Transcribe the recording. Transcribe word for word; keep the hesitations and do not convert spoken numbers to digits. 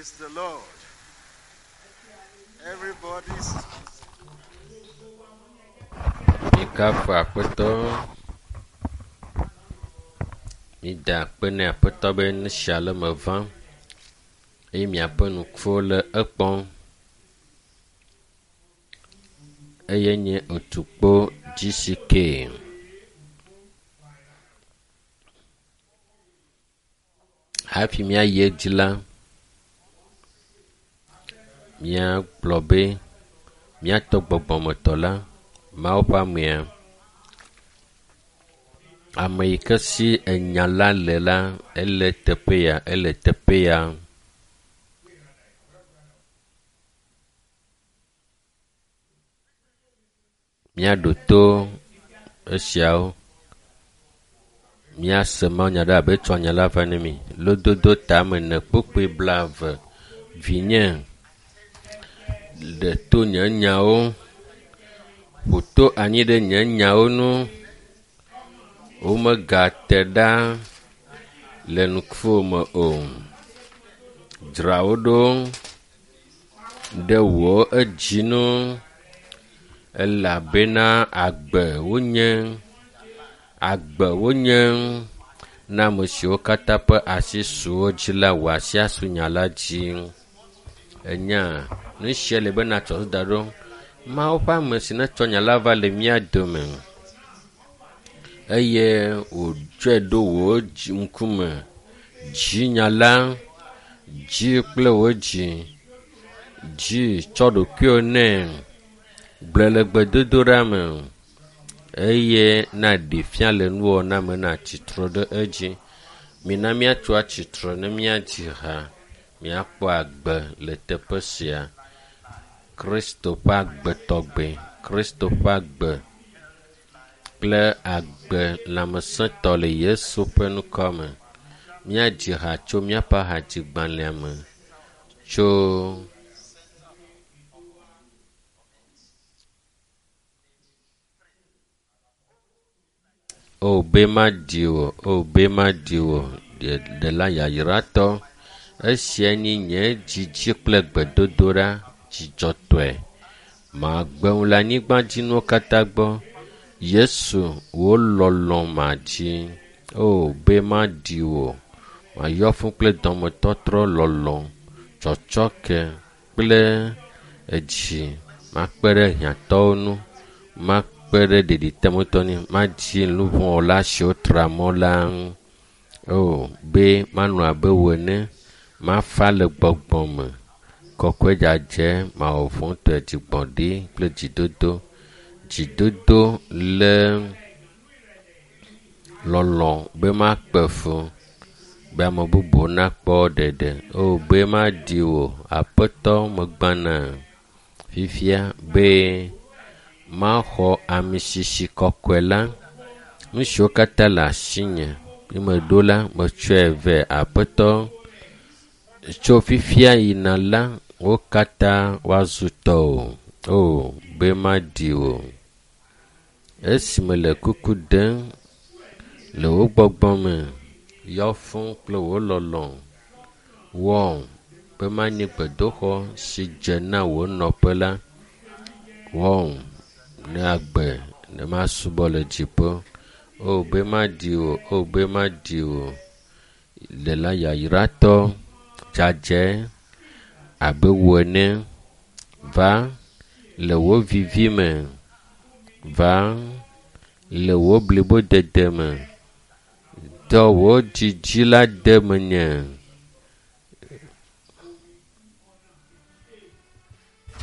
Praise the Lord. Everybody's Mikafu Aƒetɔ. Mida akpe ne Aƒetɔ be nu sia le me vam eye miaƒe ŋkuwo le ekpɔm. Eye nye otukpo GCK. Hafi míayi edzi la, míagblɔ be míatɔ gbɔgbɔmetɔ la, Mawu ƒe amea, ame yi ke si enya la le la, ele teƒe ya, ele teƒe ya. Míaɖo to esiawo. Míase mawunya ɖe abe etsɔ nya la va ne mi. Lododo tame ne kpukpui blaeve. Vinye, ɖe to nye nyawo, ƒo to anyi ɖe nye nyawo nu. Womegate ɖa le ŋkuwò me o. Dzra wo ɖo ɖe wò edzi nu elabena agbe wonye, agbe wonye na ame siwo katã ƒe asi su wo dzi la, wò asi asu nya la dzi. Enya, nu sia le be natsɔ da ɖo. Mawu ƒe ame si netsɔ nya la va le mía dome eye wòtsɔe ɖo wò dzi ŋkume. Dzi nya la, dzi kple wò dzi, dzi tsɔ ɖokuiwò nɛ, gblɔe le gbedodoɖa me eye naɖee fia le nuwɔna me natsi tre ɖe edzi. Mina míatso atsitre ne míadzi ha, míakpɔ agbe le teƒe sia. Kristo ƒe agbe tɔgbe, Kristo ƒe agbe kple agbe lãmesẽtɔ le Yesu ƒe ŋkɔ me. Míadzi ha tso míaƒe hadzigbalẽa me tso O be maɖi wò, o be maɖi wò, ɖela yayratɔ. Esia nye nye dzidzi kple gbedodoɖa dzidzɔtɔe. Magbe ŋu le anyigbadzinuwo katã gbɔ. Yesu, wò lɔlɔ̃ madzi. O be maɖi wò, mayɔ fũ kple dɔmetɔtrɔ lɔlɔ̃, tsɔtsɔke kple edzi. Makpe ɖe hiãtɔwo ŋu, makpe ɖe ɖeɖiteametɔ ŋu, madzi nuvɔ̃wɔla siwo tra mɔ la ŋu. O be manɔ abe wò ene, mafa le gbɔgbɔ me. Kɔkɔe dzadzɛ, mawɔ vɔ̃tɔe, dzigbɔɖi kple dzidodo. Dzidodo le lɔlɔ̃ be makpe fu, be ame bubuwo nakpɔ ɖeɖe. O be maɖi wò, Aƒetɔ megbana fifia be maxɔ amisisi kɔkɔe la. Nu siwo katã le asinye ne meɖo la, metsɔe vɛ. Aƒetɔ, tso fifia yina la, wo katã woazu tɔwò. O be maɖi wò. Esi mele kuku ɖem le wò gbɔgbɔ me, yɔ fũ kple wò lɔlɔ̃. Wɔ be manyi gbedoxɔ si dze na wò nɔƒe la. Wɔ ne agbe ne masubɔ le dziƒo. O be maɖi wò, o be maɖi wò. Ɖela yayratɔ, dzadzɛ abe wò ene. Va le wò vivi me. Va le wò blibodede me. Dɔ wò dzidzi la de menye.